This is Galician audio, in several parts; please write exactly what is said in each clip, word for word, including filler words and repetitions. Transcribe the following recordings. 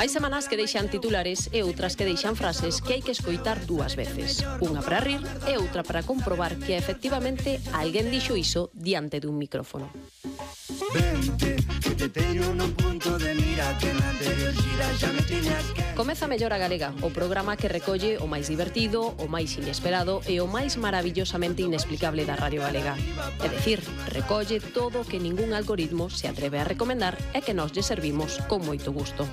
Hai semanas que deixan titulares e outras que deixan frases que hai que escoitar dúas veces. Unha para rir e outra para comprobar que efectivamente alguén dixo iso diante dun micrófono. Vente, que te teño nun punto de mira que na anterior xira xa me tiñas que... Comeza Mellor a Galega, o programa que recolle o máis divertido, o máis inesperado e o máis maravillosamente inexplicable da Radio Galega. É dicir, recolle todo o que ningún algoritmo se atreve a recomendar e que nós lle servimos con moito gusto.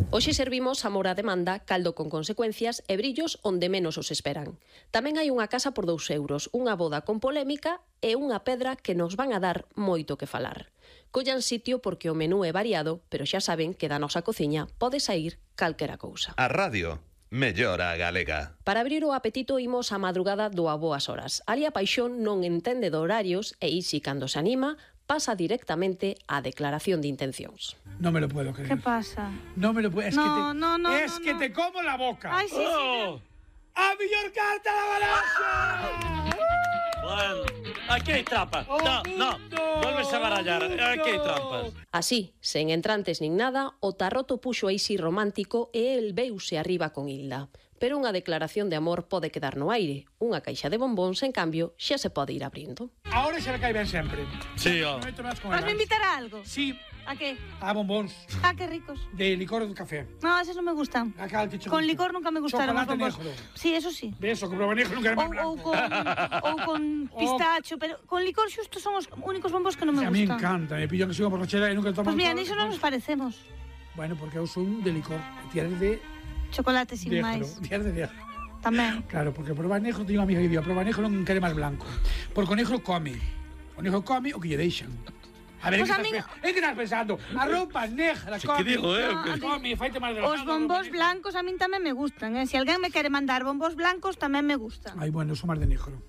Hoxe servimos amor a demanda, caldo con consecuencias e brillos onde menos os esperan. Tamén hai unha casa por dous euros, unha boda con polémica e unha pedra que nos van a dar moito que falar. Collan sitio porque o menú é variado, pero xa saben que da nosa cociña pode sair calquera cousa. A radio, Mellor a Galega. Para abrir o apetito imos á madrugada do A Boas Horas. Ali a paixón non entende de horarios e isi cando se anima pasa directamente á declaración de intencións. No me lo puedo creer. ¿Qué pasa? No me lo puedo... Es no, que te, no, no, es no, que no. te como la boca. Ay, sí, ¡Oh! sí. ¡A millor carta la baraja! Bueno, aquí hai trampa. Oh, no, no, volves a barallar. Aquí hai trampas. Así, sen entrantes nin nada, o Tarroto puxo aí si romántico e el veuse arriba con Hilda. Pero unha declaración de amor pode quedar no aire. Unha caixa de bombóns, en cambio, xa se pode ir abrindo. Ahora se le cae ben sempre. Sí, ó. ¿Vas a invitar a algo? Sí. ¿A qué? A bombóns. Ah, qué ricos. De licor de café. No, esos no me gustan. Acá, el que Con licor nunca me gustaron los Chocolate bombos. negro. Sí, eso sí. Beso, con negro nunca Ou, me blanco. ou con, ou con pistacho, pero con licor xusto son os únicos bombos que non me A mí gustan. encanta, me pillo que sigo por borrachera e nunca tomo Pues mira, alcohol. niso non nos parecemos. Bueno, porque eu son de licor. Tienes de Chocolate sin negro. máis. Tienes de negro. Tamén. Claro, porque probar negro, teño unha amiga que digo, probar negro non quere máis blanco. Porque o negro come. O negro come o que lle deixan. A ver, Pues en a que, mí- estás, en que estás pensando? A roupa negra, Sí, come. que digo, eh, Ah, que- come, faite máis Os bombos blancos a min tamén me gustan, eh? Se alguén me quere mandar bombos blancos tamén me gustan. Ai, bueno, eu sou máis de negro.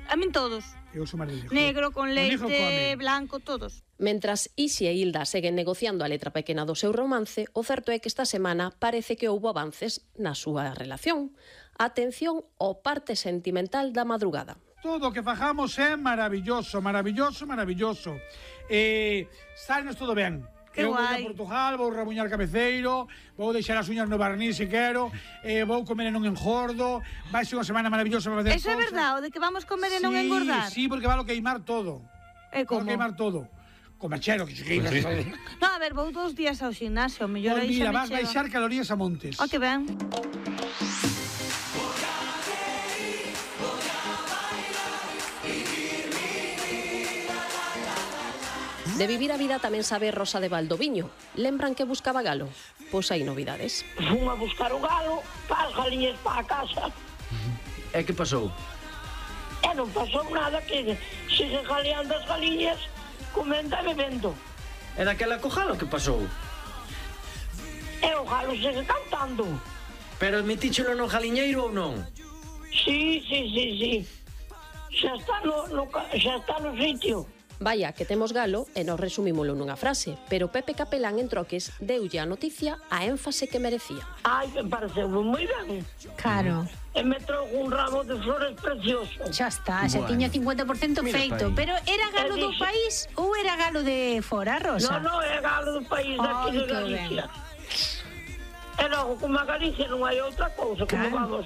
A min todos. Eu sou máis de negro. Negro, con O negro leite, come. blanco, todos. Mentras Isi e Hilda seguen negociando a letra pequena do seu romance, o certo é que esta semana parece que houbo avances na súa relación. Atención ao parte sentimental da madrugada. Todo o que fajamos é maravilloso, maravilloso, maravilloso. Eh, saínos todo ben. Que eu vou a guai. Portugal, vou rabuñar cabeceiro, vou deixar as uñas no barniz se quero, eh, vou comer e non engordo, vai ser unha semana maravillosa para facer Eso é cosas. verdade, o de que vamos comer e non Sí, engordar. Sí, porque valo queimar todo. É Valo como? queimar todo. Comachero, que se queima. No, a ver, vou dous días ao gimnasio, mellor Pois aí mira, xa me vas chega. baixar calorías a montes. Oh, que ben. De vivir a vida tamén sabe Rosa de Valdoviño. Lembran que buscaba galo? Pois hai novidades. Fun a buscar o galo para as galiñas para a casa. E que pasou? E non pasou nada, que siguen galeando as galiñas, comendo e bebendo. E daquela co galo que pasou? E o galo sigue cantando. Pero admitíchelo no galiñeiro ou non? Sí, sí, sí, sí. Xa está no, no, ca- xa está no sitio. Vaya, que temos galo e nos resumímolo nunha frase, pero Pepe Capelán en troques deulle a noticia a énfase que merecía. Ai, me pareceu moi ben. Claro, E me trouxe un ramo de flores precioso. xa está, xa Bueno. tiña cincuenta por ciento Mira feito. pa aí. Pero era galo do dixe- país ou era galo de fora, Rosa? Non, non, é galo do país daqui Ai, de que Galicia. E logo, como a Galicia non hai outra cousa, como Claro. vamos...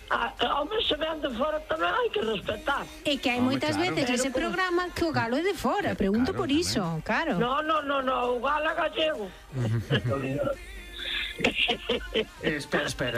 A, a, home, se ven de fora tamén hai que respetar. É que hai Home, moitas claro. veces ese Pero como- programa que o galo é de fora, pregunto Claro, por iso, claro. No, no, no, no, o galo é gallego. Eh, espera, espera.